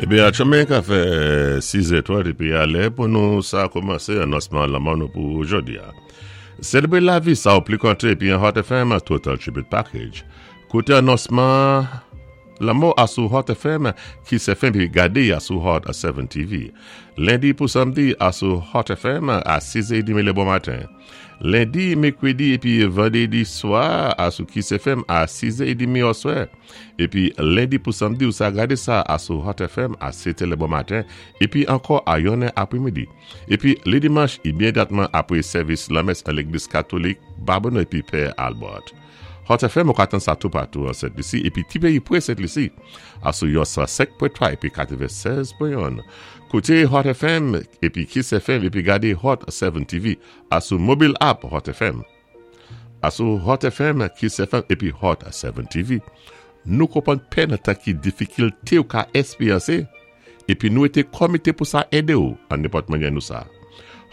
Ebyen atchoumen ka fè 6 è 30 epi a lè pou nou sa koumanse anonsman lanmò nou pou jodi a. Selebre lavi sa ou pli konte epi an Hot FM Total Tribute Package. Koute anonsman lanmò a sou Hot FM Kiss FM epi gade a sou Hot 7 TV. Lendi pou samdi a sou Hot FM a 6 è edemi le bon maten. Lendi, mekredi epi vandredi swa a sou Kiss FM a 6 è edemi oswè. Epi lendi pou samdi ou sa gade sa a sou Hot FM a 7 è le bon maten epi ankò a yon è apremidi. Epi le dimanch imedyatman apre sèvis lanmès an legliz katolik Babonneau epi Pè Albert. Hot FM ou ka tann sa toupatou an Sent Lisi epi ti peyi pre Sent Lisi a sou yon 105.3 epi 96.1. Koute Hot FM epi Kiss FM epi gade Hot 7 TV a sou mobil app Hot FM. A sou Hot FM, Kiss FM epi Hot 7 TV. Nou konprann pè nan tan ki difikilte ou ka esperyanse epi nou ete komite pou sa ede ou an nenpòt manyè nou sa.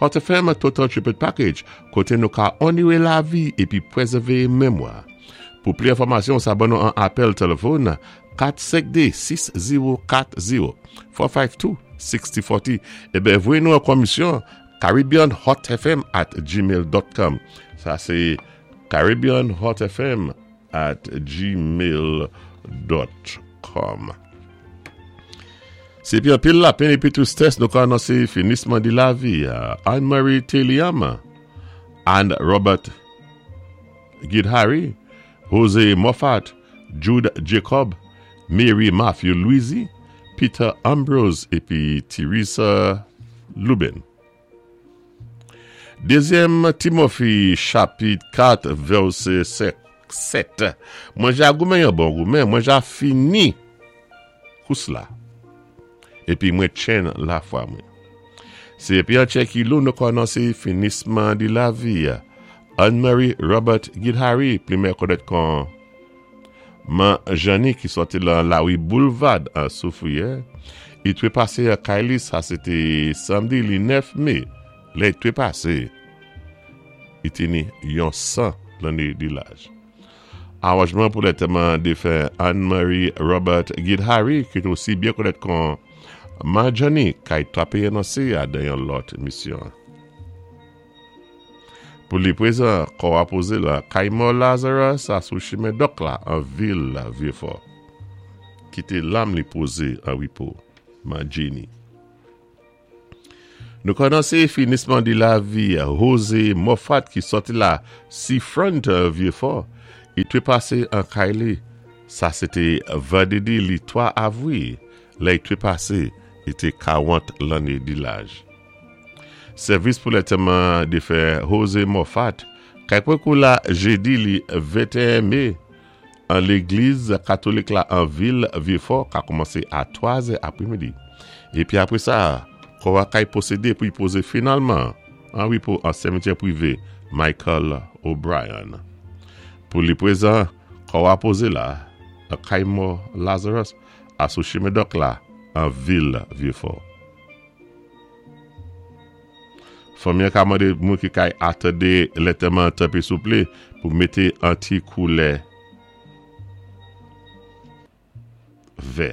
Hot FM Total Tribute Package kote nou ka onore lavi epi prezève memwa. Pou pli enfòmasyon sa ban nou an apèl telefòn 452 6040 452 6040 eben voye nou an komisyon CaribbeanHotFM at gmail dot com Sa se CaribbeanHotFM at gmail dot com Se pi anpil lapenn epi tristès nou ka anonse finisman di lavi Anne Marie Teliam, Anne Robert Guidhary, Jose Moffat, Jude Jacob, Mary Matthew Louisy, Peter Ambrose epi Theresa Lubin. Dezyèm Timothy chapit 4 vèsè 7 Mwen ja goumen yon bon goumen, mwen ja fini kous la, epi mwen tchen lafwa mwen. Se epi an tchen ki lou nou kònanse finisman di lavi Anne Marie Robert Guidhary, plimè konèt kon Man Janny ki sòti lan lari Boulvad an Soufriyè, li trepase an kay li sa se te samdi li 9 me, lè li trepase li te ni yon 100 lanne de laj. Aranjman pou lantèman defen Anne Marie Robert Guidhary ki te osi byen konèt kon Man Janny kay trape anonse a dan yon lòt misyon. Pou li prezan, kò a poze lan kay mò Lazarus a sou chimen Dòk la an vil Vyefò. Kite lam li poze an repo, Man Jenny. Nou kònanse finisman di lavi Jose Moffat ki sòti la Seafront Vyefò, li trepase an kay li. Sa se te vandredi li 3 avri, lè li trepase, li te 40 lanne di laj. Sèvis pou lantèman defen Jose Moffat kay pran kou la jedi li 21 me an legliz katolik la an vil Vyefò ka koumanse a 3 zè apremidi. Epi apre sa, kò a kay pwosede pou y poze finalman an repo an sèmityè prive Michael O'Brien. Pou li prezan, kò a poze la nan kay mò Lazarus a sou chimen dòk la an vil Vyefò. Fanmi an ka mande moun ki kay atande lantèman an tanpri souple pou mete an ti koulè vè.